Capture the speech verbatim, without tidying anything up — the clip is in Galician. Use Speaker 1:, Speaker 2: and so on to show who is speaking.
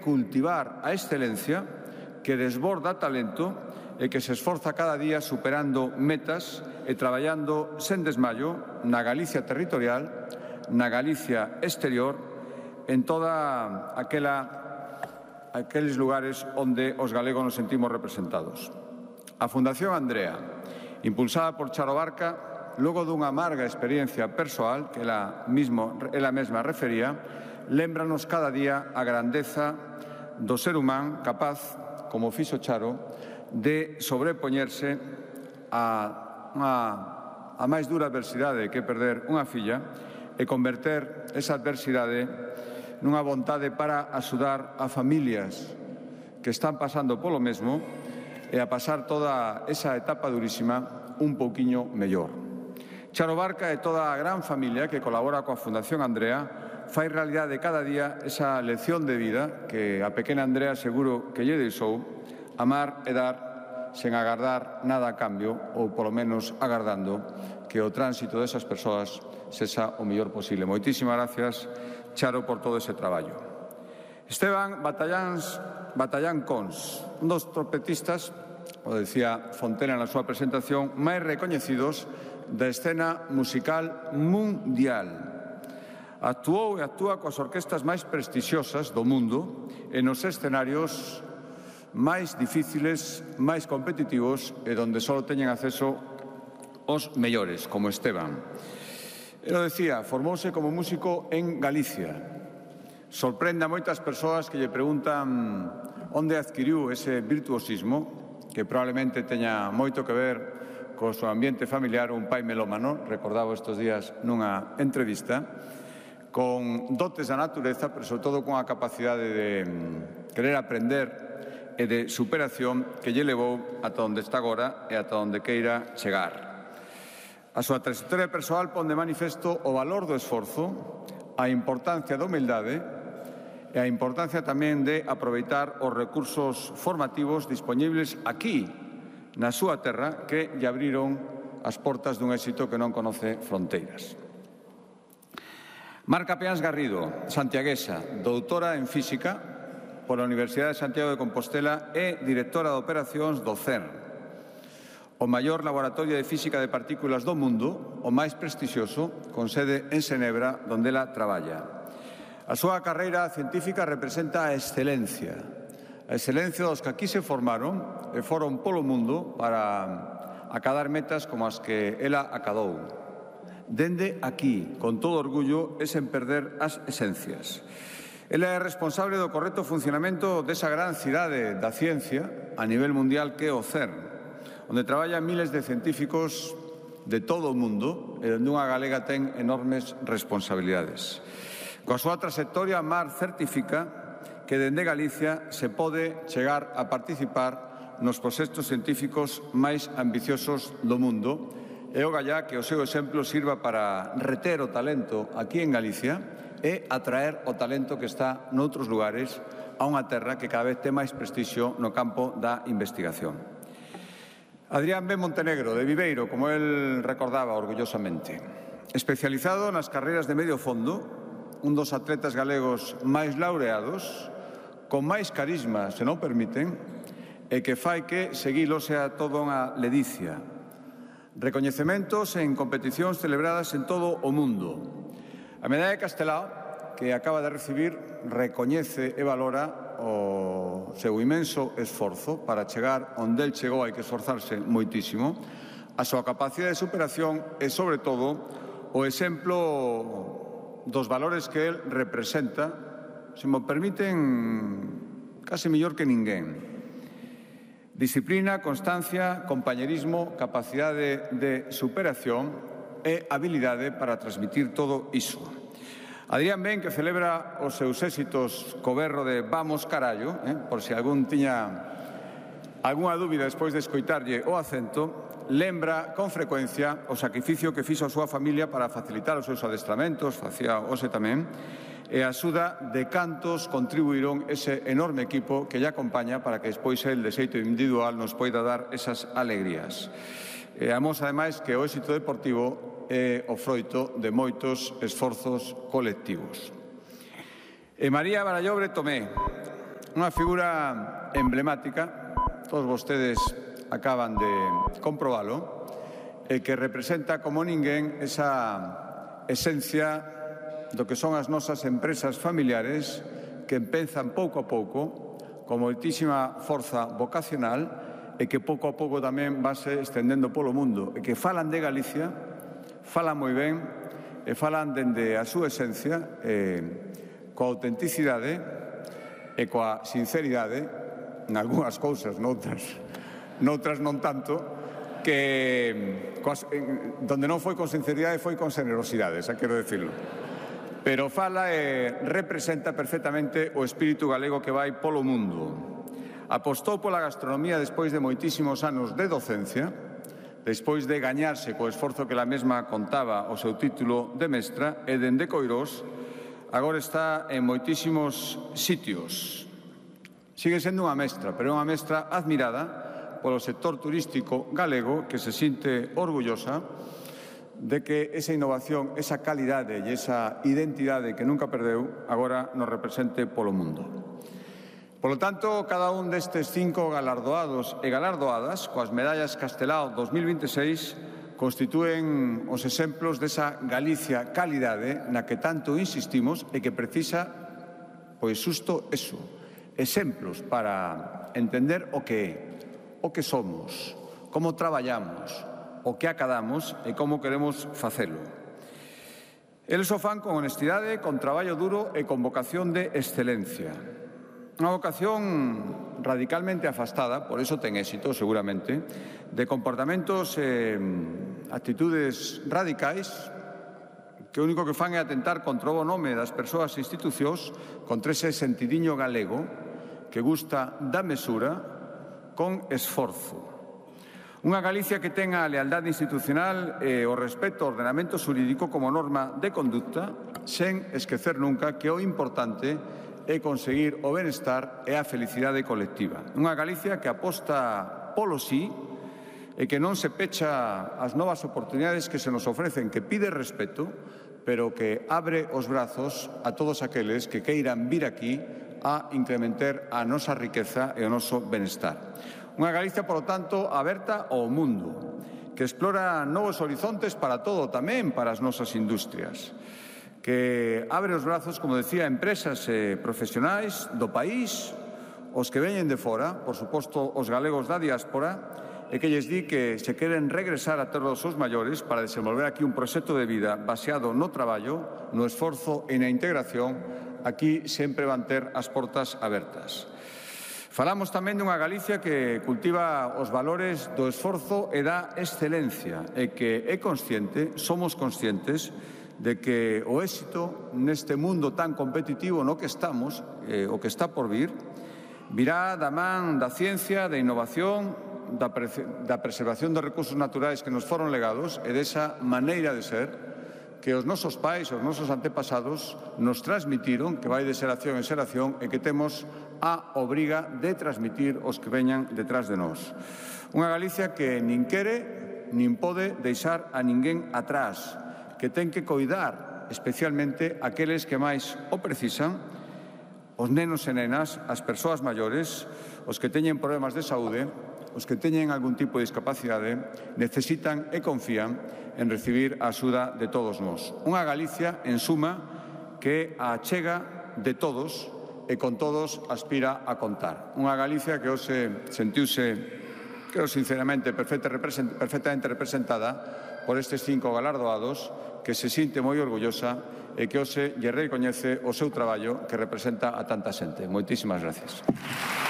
Speaker 1: cultivar a excelencia, que desborda talento e que se esforza cada día superando metas e traballando sen desmayo na Galicia territorial, na Galicia exterior, en toda aquela, aqueles lugares onde os galegos nos sentimos representados. A Fundación Andrea, impulsada por Charo Barca, logo dunha amarga experiencia persoal que ela, mismo, ela mesma refería, lémbranos cada día a grandeza do ser humano capaz, como fixo Charo, de sobrepoñerse a, a, a máis dura adversidade que perder unha filla e converter esa adversidade nunha vontade para axudar a familias que están pasando polo mesmo e a pasar toda esa etapa durísima un pouquiño mellor. Charo Barca e toda a gran familia que colabora coa Fundación Andrea fai realidade cada día esa lección de vida que a pequena Andrea seguro que lle deixou, amar e dar sen agardar nada a cambio ou polo menos agardando que o tránsito desas persoas sexa o mellor posible. Moitísimas gracias, Charo, por todo ese traballo. Esteban Batalláns, Batallán Cons, un dos trompetistas, o decía Fontena na súa presentación, máis recoñecidos da escena musical mundial. Actuou e actúa coas orquestas máis prestixiosas do mundo e nos escenarios máis difíciles, máis competitivos e donde só teñen acceso os mellores, como Esteban. Ele decía, formouse como músico en Galicia. Sorprende a moitas persoas que lle preguntan onde adquiriu ese virtuosismo, que probablemente teña moito que ver co seu ambiente familiar, un pai melómano, recordaba estes días nunha entrevista, con dotes da natureza, pero sobre todo con a capacidade de querer aprender e de superación que lle levou ata onde está agora e ata onde queira chegar. A súa trayectoria persoal pon de manifesto o valor do esforzo, a importancia da humildade e a importancia tamén de aproveitar os recursos formativos dispoñibles aquí, na súa terra, que lle abriron as portas dun éxito que non conoce fronteiras. Marca Peáns Garrido, santiaguesa, doutora en Física pola Universidade de Santiago de Compostela e directora de operacións do CERN, o maior laboratorio de física de partículas do mundo, o máis prestixioso, con sede en Xenebra, onde ela traballa. A súa carreira científica representa a excelencia, a excelencia dos que aquí se formaron e foron polo mundo para acadar metas como as que ela acadou. Dende aquí, con todo orgullo e sen perder as esencias. Ela é responsable do correcto funcionamento desa gran cidade da ciencia a nivel mundial que é o CERN, onde traballan miles de científicos de todo o mundo e onde unha galega ten enormes responsabilidades. Coa súa trayectoria, Mar certifica que dende Galicia se pode chegar a participar nos proxectos científicos máis ambiciosos do mundo e o gallá que o seu exemplo sirva para reter o talento aquí en Galicia e atraer o talento que está noutros lugares a unha terra que cada vez ten máis prestixio no campo da investigación. Adrián B. Montenegro, de Viveiro, como el recordaba orgullosamente, especializado nas carreiras de medio fondo, un dos atletas galegos máis laureados, con máis carisma, se non permiten, e que fai que seguilo sea toda unha ledicia. Recoñecementos en competicións celebradas en todo o mundo. A Medalla de Castelao, que acaba de recibir, recoñece e valora o seu inmenso esforzo para chegar onde el chegou, hai que esforzarse moitísimo, a súa capacidade de superación e, sobre todo, o exemplo dos valores que el representa, se me permiten, case mellor que ninguén. Disciplina, constancia, compañerismo, capacidade de superación e habilidade para transmitir todo iso. Adrián Ben, que celebra os seus éxitos co berro de Vamos carallo, eh, por se algún tiña algunha dúbida despois de escoitarlle o acento, lembra con frecuencia o sacrificio que fixo a súa familia para facilitar os seus adestramentos, facía ose tamén, e a axuda de cantos contribuíron ese enorme equipo que lle acompaña para que despois el, de xeito individual, nos poida dar esas alegrías. E amos, ademais, que o éxito deportivo é o froito de moitos esforzos colectivos. E María Barallobre Tomé, Unha figura emblemática, todos vostedes acaban de comprobalo, e que representa como ninguén esa esencia do que son as nosas empresas familiares que empezan pouco a pouco con moitísima forza vocacional e que pouco a pouco tamén vanse estendendo polo mundo e que falan de Galicia, falan moi ben e falan dende a súa esencia eh, coa autenticidade e coa sinceridade, en algunhas cousas, noutras, noutras non tanto, que coas, en, donde non foi con sinceridade foi con generosidade, xa quero decirlo. Pero fala e representa perfectamente o espírito galego que vai polo mundo. Apostou pola gastronomía despois de moitísimos anos de docencia, despois de gañarse co esforzo que la mesma contaba o seu título de mestra, e dende Coirós agora está en moitísimos sitios. Sigue sendo unha mestra, pero é unha mestra admirada polo sector turístico galego que se sinte orgullosa de que esa innovación, esa calidade e esa identidade que nunca perdeu agora nos represente polo mundo. Polo tanto, cada un destes cinco galardoados e galardoadas coas medallas Castelao dos mil veintiséis constitúen os exemplos desa Galicia calidade na que tanto insistimos e que precisa, pois, xusto eso, exemplos para entender o que é, o que somos, como traballamos, o que acadamos e como queremos facelo. Eles o fan con honestidade, con traballo duro e con vocación de excelencia. Unha vocación radicalmente afastada, por eso ten éxito, seguramente, de comportamentos e eh, actitudes radicais que o único que fan é atentar contra o nome das persoas e institucións contra ese sentidiño galego que gusta da mesura con esforzo. Unha Galicia que tenga a lealdade institucional e o respeto ao ordenamento xurídico como norma de conducta, sen esquecer nunca que o importante é conseguir o benestar e a felicidade colectiva. Unha Galicia que aposta polo sí e que non se pecha as novas oportunidades que se nos ofrecen, que pide respeto, pero que abre os brazos a todos aqueles que queiran vir aquí a incrementar a nosa riqueza e o noso benestar. Unha Galicia, polo tanto, aberta ao mundo, que explora novos horizontes para todo, tamén para as nosas industrias, que abre os brazos, como decía, a empresas e profesionais do país, os que veñen de fora, por suposto, os galegos da diáspora, e que lles di que se queren regresar a terra dos seus maiores para desenvolver aquí un proxecto de vida baseado no traballo, no esforzo e na integración, aquí sempre van ter as portas abertas. Falamos tamén dunha Galicia que cultiva os valores do esforzo e da excelencia e que é consciente, somos conscientes, de que o éxito neste mundo tan competitivo no que estamos, eh, o que está por vir, virá da man da ciencia, da innovación, da, pre da preservación dos recursos naturais que nos foron legados e desa maneira de ser que os nosos pais, os nosos antepasados nos transmitiron, que vai de xeración en xeración e que temos a obriga de transmitir os que veñan detrás de nós. Unha Galicia que nin quere nin pode deixar a ninguén atrás, que ten que coidar especialmente aqueles que máis o precisan, os nenos e nenas, as persoas maiores, os que teñen problemas de saúde, os que teñen algún tipo de discapacidade, necesitan e confían en recibir a axuda de todos nós. Unha Galicia, en suma, que a achega de todos e con todos aspira a contar. Unha Galicia que hoxe sentiuse, creo sinceramente, perfectamente representada por estes cinco galardoados, que se sinte moi orgullosa e que hoxe lle recoñece o seu traballo que representa a tanta xente. Moitísimas gracias.